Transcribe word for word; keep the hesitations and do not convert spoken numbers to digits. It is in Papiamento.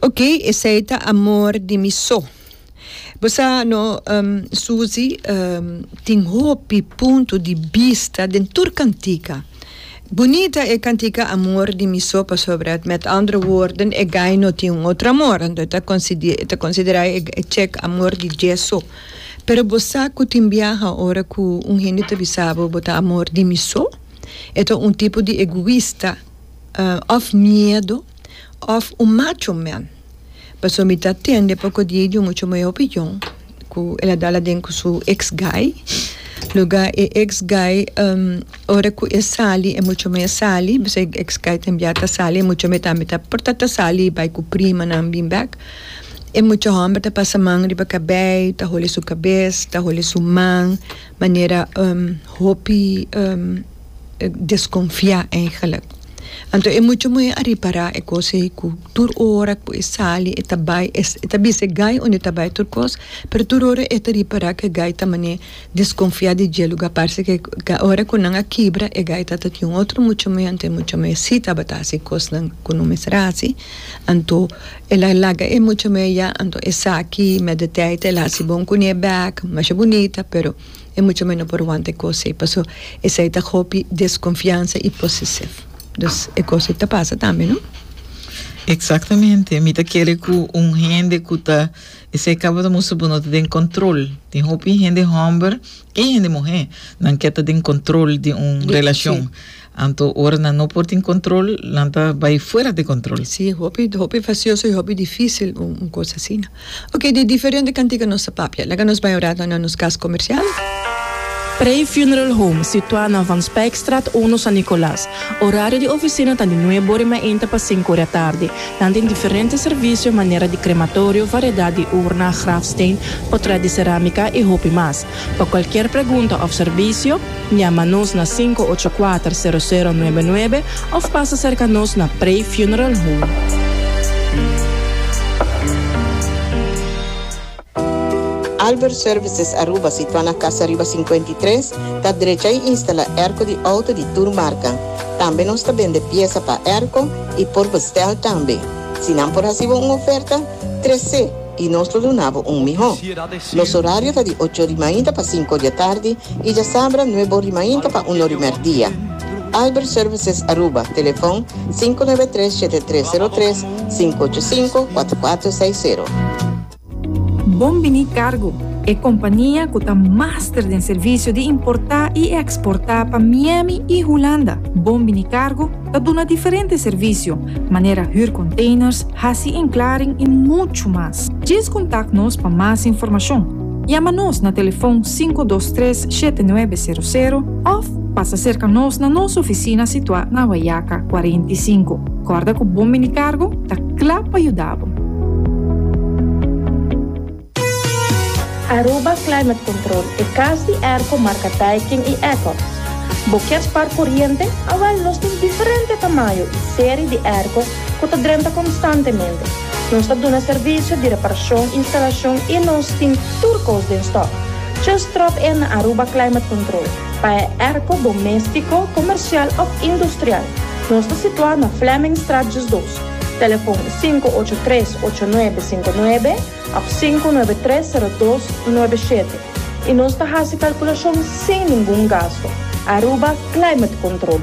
Ok, esey ta "Amor di Mi So". Bo sa no, um, Suzy, um, tin hopi punto di bista den tur cantica. Bunita e cantica "Amor di Mi So", pasobra, met andere woorden, e guy no tin un otro amor, anto ta considera, ta considera e check amor di dje so. Pero bo sa cu tin biaha ora cu un hende ta bisa bo "Bo ta amor di mi so", e ta un tipo di egoista, uh, of miedo, of un macho man. Paso mi ta tende poco dia di mucha muhe opinion cu el a dal aden cu su ex guy. Luga e ex guy, um, ora cu e sali, e mucha muhe sali, basta ex guy tambe ta sali, e mucha muhe tambe ta por ta sali, bai cu prima nan bin back. E mucha homber ta pasa man riba cabey, ta hole su cabes, ta hole su man, manera um, hopi um, desconfia eigenlijk. Anto e mucha muhe a ripara e cos cu tur ora cu e sali e ta bai e ta bisa guy unda e ta bai, tur cos, pero tur ora e ta ripara cu guy ta mane desconfia di dje. Luga parce cu ora cu nan a kibra, e guy ta tin un otro mucha muhe, anto mucha muhe si tabata hasi cos nan cu no mester hasi. Anto el a laga e mucha muhe ya. Anto esaki met de tijd el a hasi bon cu ne back, masha bunita, pero e mucha muhe no por wanta e cos ey, paso esey ta hopi desconfianza y possessive. Dus e cos ta pasa tambe, no? Exactamente. Mi ta kere cu un hende cu ta esey caba ta mustra bo no ta den control. Tin hopi hende homber y hende muhe nan kier ta den control di un relacion. Anto ora nan no por tin control, nan ta bai fuera di control. Si, hopi, hopi fastioso y hopi dificil un, un cos asina. Ok, di diferente cantica nos a papia. Laga nos bai ora na nos cas comercial. Prey Funeral Home, situa na Van Spijkstraat un, San Nicolas. Horario di oficina ta di nuebe or mainta pa cinco or di atardi. Nan tin diferente servicio, manera di crematorio, variedad di urna, grafsteen, portret di ceramica y hopi mas. Pa cualkier pregunta of servicio, yama nos na cinco ocho cuater, cero cero nuebe nuebe of pasa cerca nos na Prey Funeral Home. Albert Services Aruba, situa na Cas Ariba cincuenta y tres, ta drecha y instala airco di auto di tur marca. Tambe nos ta bende pieza pa airco y por bestel tambe. Si nan por haci un oferta, trece y nos lo duna bo un miho. Nos horario ta di ocho di mainta pa cinco di atardi y diasabra nuebe di mainta pa un di merdia. Albert Services Aruba, telefon cinco nuebe tres, siete tres cero tres, cinco ocho cinco, cuatro cuatro seis cero. Bombini Cargo e compania cu ta master den servicio di importa y exporta pa Miami y Hulanda. Bombini Cargo ta duna diferente servicio, manera huur containers, hasi inklaring y mucho mas. Djis contact nos pa mas informacion. Yama nos na telefon cinco dos tres, siete nuebe cero cero of pasa cerca nos na nos oficina situa na Wayaca cuarenta y cinco. Corda cu Bombini Cargo ta cla pa yuda. Aruba Climate Control, e cas di airco marca Daikin y Ecox. Bo kier spaar coriente? Awel, nos tin diferente tamaño y serie di airco cu ta drenta constantemente. Nos ta duna servicio di reparacion, instalacion y nos tin tur cos den stock. Just drop in na Aruba Climate Control pa airco domestico, comercial of industrial. Nos ta situa na Flemingstraat dos. Telefon cinco ocho tres, ocho nuebe cinco nuebe of cinco nuebe tres, cero dos nuebe siete. Y nos ta haci calculacion sin ningun gasto. Aruba Climate Control.